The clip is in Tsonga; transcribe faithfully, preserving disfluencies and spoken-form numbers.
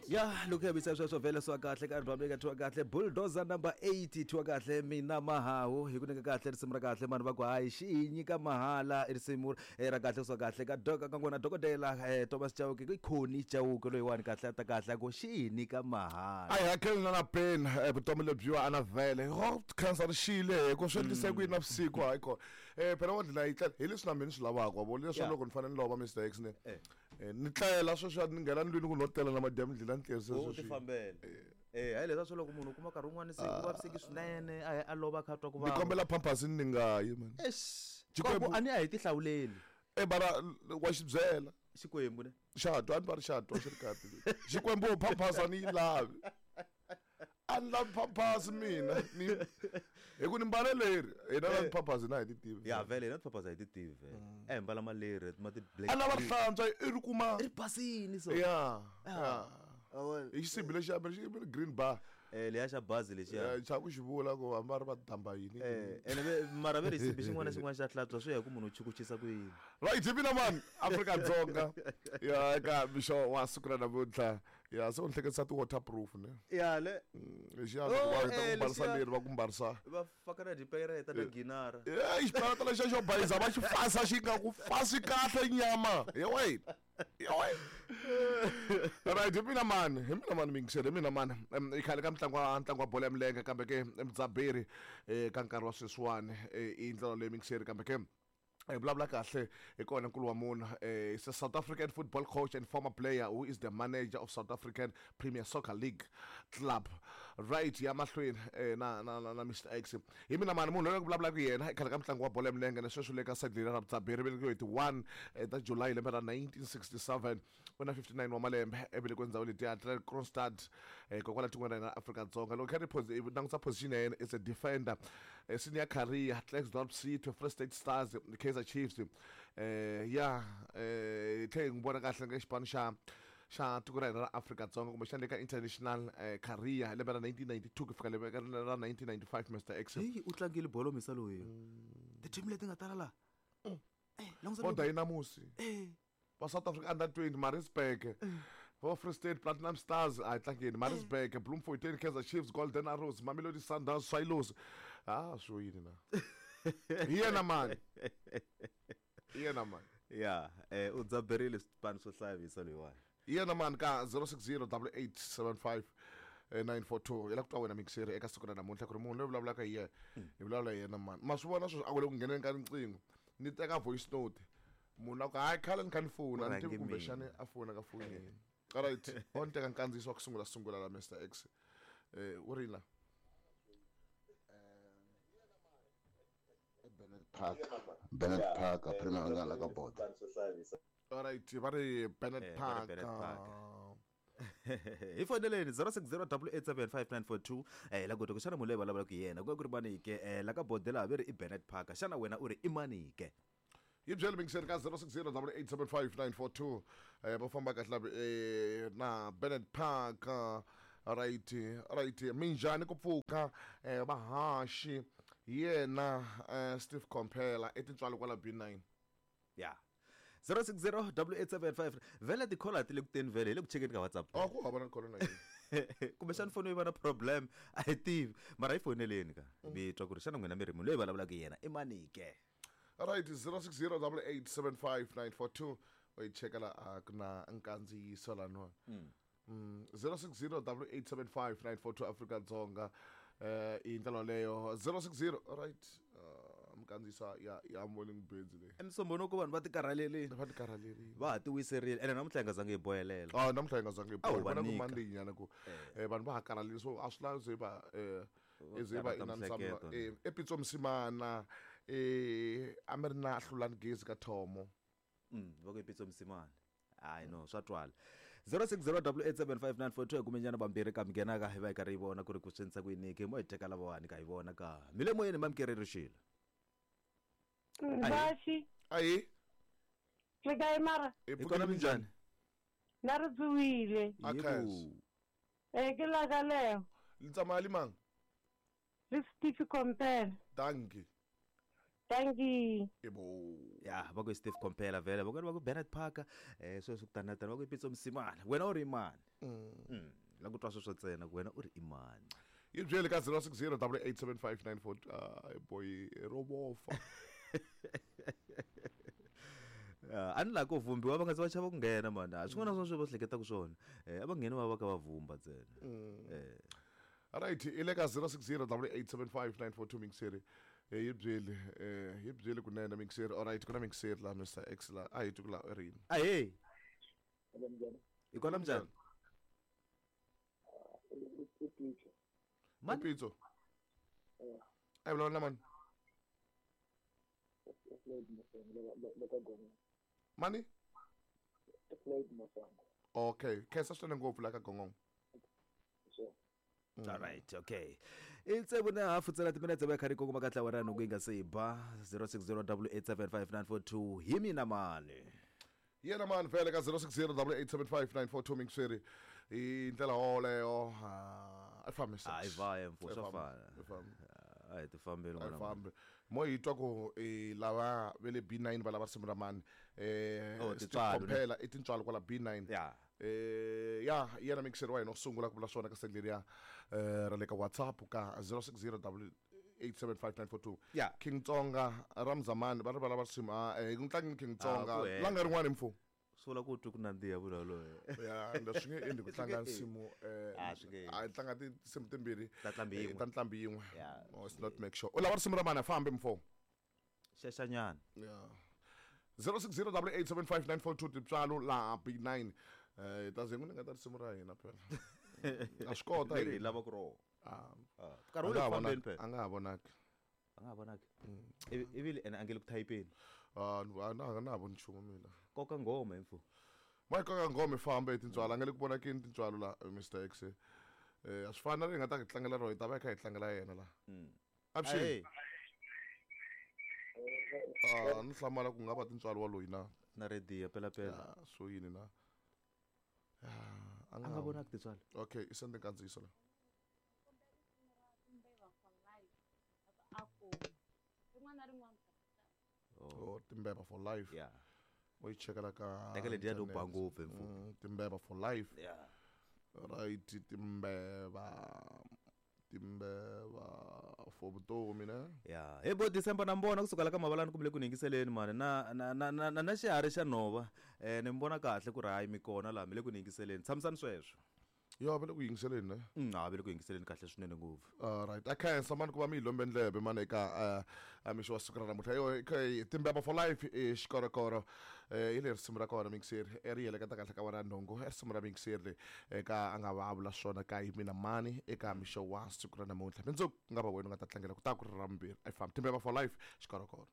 Ya loko ya bisa sweswo vhele swa kahle ka album leyi nga thyiwa kahle Bulldozer number eight thyiwa kahle mina mahawu hi ku nyika kahle risimu ra kahle mani va ku hayi xi hi nyika mahala i risimu eh, ra kahle swa kahle ka doka ka n'wina dokodela eh, Thomas Chauke i Khoni Chauke loyiwani kahle a ta kahle a ku xi hi nyika mahala a hi hakeli na na peni eh, vutomi lebyiwa a na vhele ho khansa ri xile hi ku swi endlise ku yini na vusiku hayi kona um phela wa ndlela yi tlela hi leswi na mina ni swi lavaka wa vona leswi Yeah. loko ni fanele ni lova Mr X ne Eh. Eh, ni tlela sweswi ni nghena ndlwini ku no tlela na madyambu ndlela ni tlele u sweswi ti fambela eh hayi leswa swo loko munhu u kuma nkarhi wun'wani se ku vaviseki swinene a ya a lova a kha a twa ku ni vava kombela pampers ni nga yi man Eish, Xikwembu- ku a ni a hi ti hlawuleli e bara wa xi byela xikwembu ne xa twa a ni va ri xa twa xi ri kahle xikwembu pampers a ni yi lavi a ni lavi pampers mina ni hi ku ni mbale leri hina la pampers hina hi ti tivi ya vhele hina tipapas a hi ti tivi vhele a hi mbala maleri ma ti black a lava ri hlantswa i ri kuma ri basini so ya ya Ah, hi xisibi lexiya xi green bar eh leya xa bazi lexiya Eh, xa ku xi vula ku hambi va ri va damba yini eh ene ve- mara ve ri xisibi xin'wana na xin'wana xa hlantswa swi ya hi ku munhu u chukuchisa ku yini right hi mina mani Afrika-Dzonga ya eka mixo wa siku ra namuntlha ya se u ni hleketisa ti-waterproof ne ya le lexiya Oh, loko va heta eh, ku mbarisa lexiya. leri va ku mbarisa va faka na dipereta na ginara Eh, xiparata lexiya xo bayiza va xi fasa xi nga ku fasi kahle nyama ya wena ya wena right hi mina mani hi mina mani mingisele hi mina mani Em, i khale ka mitlangu wa ntlangu wa bolo ya milenge kambe ke mudzaberi eh, ka nkarhi wa sweswiwani eh, i ndlela leyi mingiseri kambe ke hi vulavula kahle hi kona nkulu wa munhu eh, is a South African football coach and former player who is the manager of South African Premier Soccer League club right ya mahlweni eh, na, na, na, na Mr X hi mina mani munhu loyi ku vulavulaka yena i khale ka mitlangu wa bolo ya milenge na sweswi le ka side leri ra vudzaberi velekiwe hi ti one eh, ta July lembe ra nineteen sixty-seven u na fifty-nine wa malembe evelekiwe ndhawu letiya Kroonstad eh, kokwala tikweni ra hina ra Afrika-Dzonga loko kha ri posi- i langutisa position ya yena is a defender eh, senior career Klerksdorp City Free State Stars Kaizer Chiefs eh ya eh tlhe hi n'wi vona kahle ka xipano xa xa tiko ra hina ra Afrika-Dzonga kumbexana le ka international eh, career hi lembe ra nineteen ninety-two ku fika lembe ra nineteen ninety-five Mr X heyi u tlangile bolo misa loyi ti-team leti nga tala laha eh langusa vo loko- Dynamos eh va South Africa under twenty Maritzburg va Free State Platinum Stars a hi tlangeni Maritzburg Bloemfontein Kaizer Chiefs Golden Arrows Mamelodi Sundowns Swallows ah swo yini na hi yena mani hi yena mani ya eh u dzaberile swipano swo hlaya misa loyiwani hi yena mani ka zero six zero double eight seven five eh, nine four two hi la ku twa wena mixeri eka siku ra namuntlha ku ri munhu loyi vulavulaka hi yena hi vulavula hi yena mani ma swi vona sweswi a ku le ku ngheneni ka riqingho ni teka voice note munhu a ku hayi khale ni kha ni fona a ni tivi Rhange kumbexani a fona ka foni yini alright o ni teka nkandziyiso wa ku sungula sungula la Mr X eh u ri la Bennett Park Bennett Park a Premier nga la ka boda alright va ri Bennett Eh, va ri Park Bennett Park. hi foneleni zero six zero double eight seven five nine four two eh la ku xana munhu loyi vulavulaka hi yena ku nga ku ri mani ke eh la ka bodela ve ri i Bennett Park xana wena u ri i mani ke yi byele mingiseri ka zero six zero double eight seven five nine four two eh va famba kahle la eh na Bennett Park ah, right right minjhani ku pfuka eh vahaxi hi yena eh, Steve Komphela i tintswalo kwala B nine ya zero six zero double eight seven five vhele tikhola ti le ku teni vhele hi le ku chekeni ka WhatsApp a ku hava na kholo na yini kumbexani foni yi va na problem a hi tivi mara hi foneleni ka mi twa ku ri xana n'wina mi ri munhu loyi vulavulaka hi yena i mani ke right zero six zero double eight seven five nine four two u yi cheka la a ku na nkandziyiso laniwa Mm, zero six zero double eight seven five nine four two Afrika-Dzonga eh i ndlela leyo zero six zero right uh, minkandziyiso ya ya morning birds leyi emisombono ku vanhu va ti karhalelini va ti karhalerile va ha ti wiserile ene namuntlha hi nga zangi hi boyelela ah namuntlha hi nga zangi hi A wu boha. va Vona ku nyika. Monday nyana ku eh, vanhu va ha karhalile so a swi lavi ze va eh ze va karhata inani miehleketo. eh epitso Msimana eh a mi ri na hlulani gezi ka Thomo Mm, va ku i Pitso Msimane hayi no swa twala zero six zero double eight seven five nine four two hi kumenyana vambirhi ka mi nghenaka hi va hi karhi hi vona ku ri ku swi endlisa ku yini ke mo hi teka lavawani ka hi vona ka mi le moyeni mamkereri xilo Vaxi, ahi le kae mara? hi hi kona pfukile minjhani Na ri tsuwile. A khensa. Eh ke la ka leo. le tsamaya le mang Le Steve Kompela. dankie Thank you. ebo ya va ku i Steve Komphela vhele va ku va ku Bernard Parker eh sweswi ku tani na tani va ku i Pitso Msimane wena u ri mani Mm. La ku twa sweswo ntsena ku wena u ri i mani. Yi byele ka zero six zero double eight seven five nine four uh, boy robofa. Uh, a ni laha ku vhumbiwa va nga se va chava ku nghena mani a swin'wana na swin'wana swi va swi hleketaka swona eh a va ngheni va va ka va vhumba ntsena eh Right, i le ka zero six zero double eight seven five nine four two mixeri. Eh yi byele eh yi byele kunene mixeri. All right, ku na mixeri la Mister X la a hi twi ku la i ri yini. Ahee. I kona minjhani? Mani? Pitso. A hi vulavula na mani? Mani? Okay, khensa swinene ngopfu la ka Gongong. Mm. All right, okay. I tsevu na hafu ntsena timinetse va kha ri kongoma ka ntlawa ra nhungu yi nga se ba zero six zero double eight seven five nine four two hi mina mani. Yena mani vhele ka zero six zero double eight seven five nine four two mixeri. I ndlela yoleyo a fambi. A yi va mfo swa fana. A hi ti fambeli A yi n'wana. fambi. Mo hi twa ku i lava ve le B nine va lava risimu ra mani. Eh Oh, tintswalo, ne? Compela i tintswalo kwala B nine. Yeah. Eh ya yena mixeri wa hina u sungula ku vula swona ka send leriya eh ra le ka WhatsApp ka zero six zero double eight seven five nine four two. Yeah. King Tsonga Ramzamani va ri va lava risimu a eh ku tlangi King Tsonga Ah, ku hela. langa rin'wana mfo. Swi vula ku twi ku nandziha vula loye. Ya ende swi nge endli ku tlanga nsimu eh Ah, swi nge endli. a tlanga tinsimu timbirhi Ta ntlhambi eh, yin'we. ta ntlhambi yin'we. Yeah. No, it's not make sure. U lava risimu ra mani a fambi mfo. Xexanyana. Yeah. zero six zero double eight seven five nine four two tintswalo laha B nine. Eh ta ze n'wi nga ta risimu ra hina phela. A swi kota Leri hi hina. lava ku rona. Ah. Ah, nkarhi wu le ku fambeni phela. A nga ha vonaki. A nga ha vonaki. Ivi ivi ene a nge le ku thayipeni. Ah, a na na ha voni nchumu mina. Koka nghoma hi mfo. Ma koka nghoma i famba hi tintswalo a nga le ku vonakeni tintswalo la Mister X. Eh a swi fani na leri hi nga ta hi tlangela rona hi ta va hi kha hi tlangela yena la. Avuxeni. Ah, ni hlamala ku nga va tintswalo wa loyi na. Na rediyo pela pela. Ah, swo yini na. Ah, A nga vonaki tintswalo. Okay, i send nkandziyiso la. Oh, Timbeva for life. Yeah. U yi chekela ka Teka letiya to ba internet. ngopfu hi mfo. Mm, Timbeva for life. Yeah. Right, Timbeva. Timbeva for vutomi ne. Yeah, hi bo December na mbona kusuka la ka Mavalani kumbe le ku yingiseleni mani na na na na na xiharhi xa nhova eh ni mbona kahle ku ri hayi mi kona laha mi le ku yingiseleni tshamisani sweswo. Yo va le ku yingiseleni ne. Mm, ha va le ku yingiseleni kahle swinene ngopfu. All right, a khensa mani ku va mi hi lombe ndlebe mani eka a mixo wa siku ra namuntlha. Yo okay, Timbeva for life i xikorokoro eh hi le risimu ra kona mixeri e ri heleketa kahle ka wena nhungu e risimu ra mixeri eka a nga va a vula swona ka hi mina mani eka mixo wa siku ra namuntlha. Mundzuku ku nga va wena u nga ta tlangela ku ta ku ri ra vumbirhi. A yi fambi Timbeva for life xikorokoro.